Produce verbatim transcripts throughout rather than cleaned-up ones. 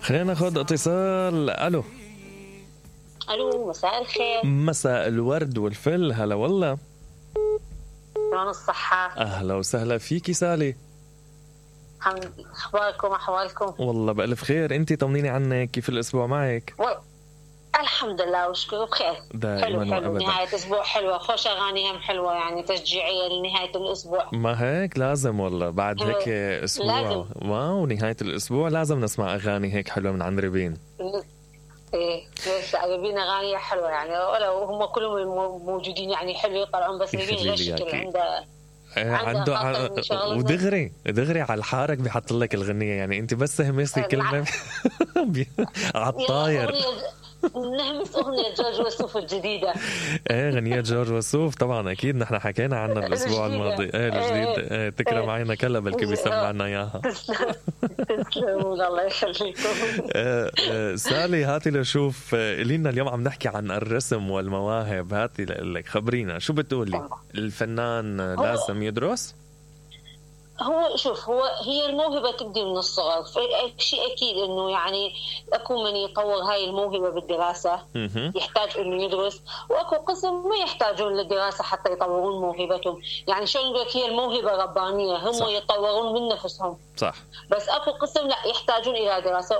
خلينا ناخذ اتصال. الو الو، مساء الخير. مساء الورد والفل. هلا والله، شلون الصحة؟ اهلا وسهلا فيكي سالي. الحمد لله، اخباركم احوالكم؟ والله بألف خير. انتي طمنيني عنك، كيف الاسبوع معك؟ و... الحمد لله وشكرا بخير. دائما حلو حلو، وابدا. نهاية اسبوع حلوة، خوش اغاني هم حلوة يعني تشجيعية لنهاية الاسبوع. ما هيك لازم والله بعد هيك اسبوع لازم. واو نهاية الاسبوع لازم نسمع اغاني هيك حلوة من عند ريبين. ايه ليش ريبين اغاني حلوة يعني، ولو هم كلهم موجودين يعني حلو يطلعون، بس ريبين غير شكل عنده عنده ع... ودغري دغري على الحارك بيحط لك الغنية، يعني انت بس همسي كلمة على الطاير. نهمس أغنية جورج وسوف الجديدة. ايه غنية جورج وسوف طبعا اكيد نحن حكينا عنها الاسبوع الماضي. ايه الجديد. ايه تكرم عينا كلا بلكي بيسمعنا اياها. تسلموا الله يخليكم. سالي هاتي لشوف لينا اليوم عم نحكي عن الرسم والمواهب. هاتي لك خبرينا شو بتقولي، الفنان لازم يدرس؟ هو شوف، هو هي الموهبة تبدي من الصغر، فشيء أكيد إنه يعني أكو من يطور هاي الموهبة بالدراسة يحتاج إنه يدرس، وأكو قسم ما يحتاجون للدراسة حتى يطورون موهبتهم. يعني شو نقول لك، هي الموهبة ربانية، هم صح. يطورون من نفسهم صح. بس أكو قسم لا يحتاجون إلى دراسة.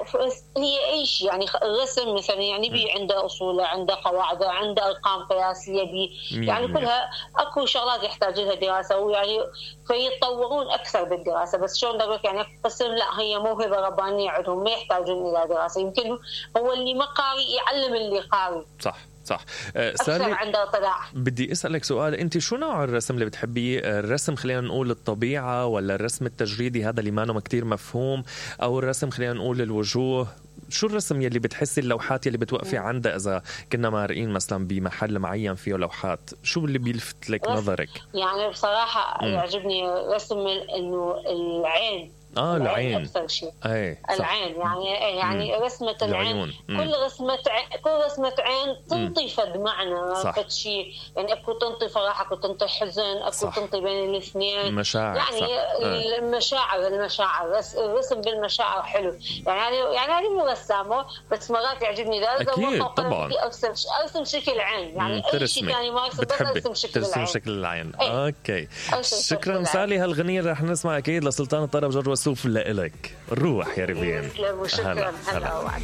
هي أي شيء يعني الرسم مثلا يعني بي عنده أصوله، عنده قواعده، عنده أرقام قياسية بي يعني كلها أكو شغلات يحتاج لها دراسة، ويعني فيتطورون أكثر بالدراسة. بس شلون نقول يعني قسم لا هي موهبة ربانية عندهم ما يحتاجون إلى دراسة. يمكن هو اللي ما قاري يعلم اللي قاري. صح صح. أه سالي عنده طلاع. بدي أسألك سؤال، أنت شو نوع الرسم اللي بتحبيه؟ الرسم خلينا نقول الطبيعة، ولا الرسم التجريدي هذا اللي ما نو كتير مفهوم، أو الرسم خلينا نقول الوجوه؟ شو الرسم يلي بتحسي اللوحات يلي بتوقفي عندها إذا كنا مارقين مثلا بمحل معين فيه لوحات؟ شو اللي بيلفت لك نظرك؟ يعني بصراحة م. يعجبني رسم إنه العين. اه العين أكثر شيء. اي العين يعني يعني مم. رسمة العين، كل رسمة عين كل رسمة عين تنطي فد معنى فد شيء يعني. اكو تنطي فرح، اكو تنطي حزن، اكو صح. تنطي بين الاثنين مشاعر يعني صح. المشاعر المشاعر الرسم بالمشاعر حلو يعني. يعني هذه مو رسامة بس مرات يعجبني ذا اكيد طبعا ارسم ارسم شكل عين يعني اي شيء ثاني ما ارسم بس ارسم شكل العين. شكل العين ايه. اوكي شكرا سالي. هالغنية رح نسمع اكيد لسلطان الطرب جورج وسوف لإلك. الروح يا ريبين. شكرا. هلا